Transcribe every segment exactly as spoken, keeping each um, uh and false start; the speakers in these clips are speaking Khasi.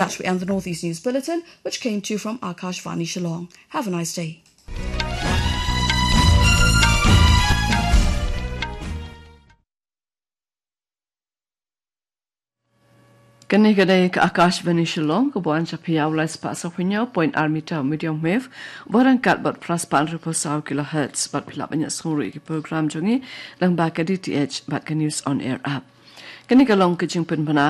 that, we end the Northeast News Bulletin, which came to you from Akashvani Shillong. Have a nice day. Kane ka dei ka Akashvani Shillong, ka ba wan sha phi ha u lai spah saw phew hynñiew point ar meter medium wave, ba ryngkat bad phra spah hynriew phew saw kilohertz, bad phi lah ban ïa sngewthuh ïa ki program jong ngi lyngba ka D T H bad ka News on Air app. Kane ka long ka jingpynbna.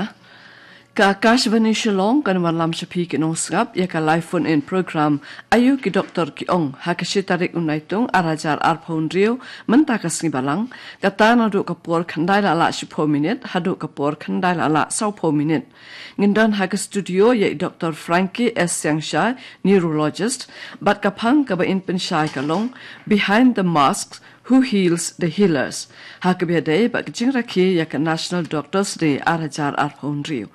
Ka Akashvani Shillong kan wanlam sha phi ki nongsngap ïa ka live phone in program Aïu ki doktor ki ong, ha ka shi tarik u Naitung ar hajar arphew hynriew, mynta ka sngi Balang, kata naduh ka por khyndai la lah shiphew minit haduh ka por khyndai la lah sawphew minit. Ngin don ha ka studio ïa i Doktor Frankie S Siangshai, neurologist, bad ka phang kaba in pynshai ka long Behind the Masks, Who Heals the Healers, ha kaba ïadei bad ka jingrakhe ïa ka National Doctors Day ar hajar arphew hynriew.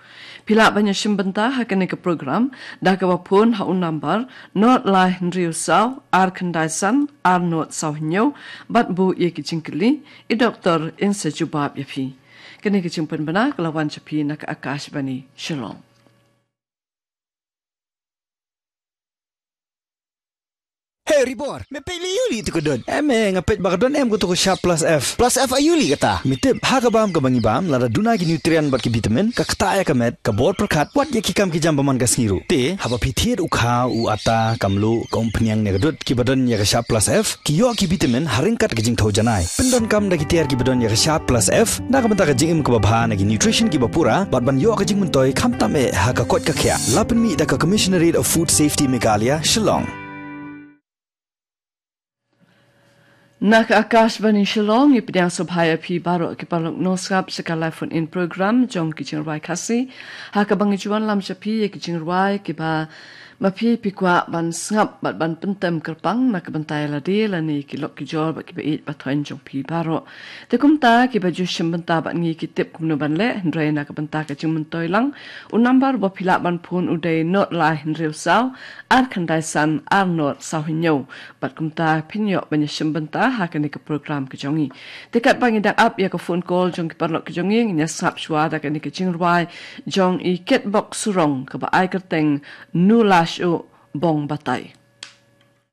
Phi lah ban ïashim bynta ha kane ka program da kaba phone ha u nambar nod lai hynriew saw ar khyndai san ar nod saw hynñiew, bad buh ïa ki jingkylli, i doktor in sa jubab ïa phi. Kane ka jingpynbna ka la wan sha phi na ka Akashvani Shillong. Hey, Ribor, me peit lei aïu lei tu ka dud? Em, eh, nga peit ba ka don em ka tu ka Sharp Plus F. Plus F aïu lei kata? Me tip, ha ka bam kaba ngi bam, lada duna ki nutrient bad ki vitamin, ka ktah ïa ka met, ka bor pyrkhat, wat ïa ki kam ki jam ba man ka sngi ruh. Te, haba phi thied u kha, u atta, ka mluh, ka umphniang ne ka dud, kiba don ïa ka Sharp Plus F, ki ïoh ki vitamin, ha ryngkat ka jingthew janai. Pyndonkam da ki tiar kiba don ïa ka Sharp Plus F, na ka bynta ka jingim kaba bha na ki nutrition kiba pura, bad ban ïoh ka jingmyntoi khamtam eh ha ka koit ka khiah. La pynmih da ka Commissionerate of Food Safety Meghalaya, Shillong. Na ka Akashvani Shillong, ngi pdiang sngewbha ïa phi baroh ki paralok nongsngap sha ka live phone in program jong ki jingrwai Khasi. Ha kaba ngi ju wanlam sha phi ïa ki jingrwai kiba ma phi phi kwah ban sngap bad ban pyntem kyrpang na ka bynta ïa lade lane ki lok ki jor bad kiba ïeit ba thoiñ jong phi baroh. Te kumta kiba ju shim bynta bad ngi ki tip kumno ban leh, hynrei na ka bynta ka jingmyntoi lang, u nambar ba phi lah ban phone u dei nod lai hynriew saw ar khyndai san ar nod saw hynñiew. Bad kumta phin ïoh ban ïashim bynta ha kane ka program ka jong ngi. Te katba ngi dang ap ïa ka phone call jong ki paralok ki jong ngi, ngin ïa sngap shuwa da kane ka jingrwai jong i Ketbok Surong kaba ai kyrteng Nu Lashooh Bong Batai.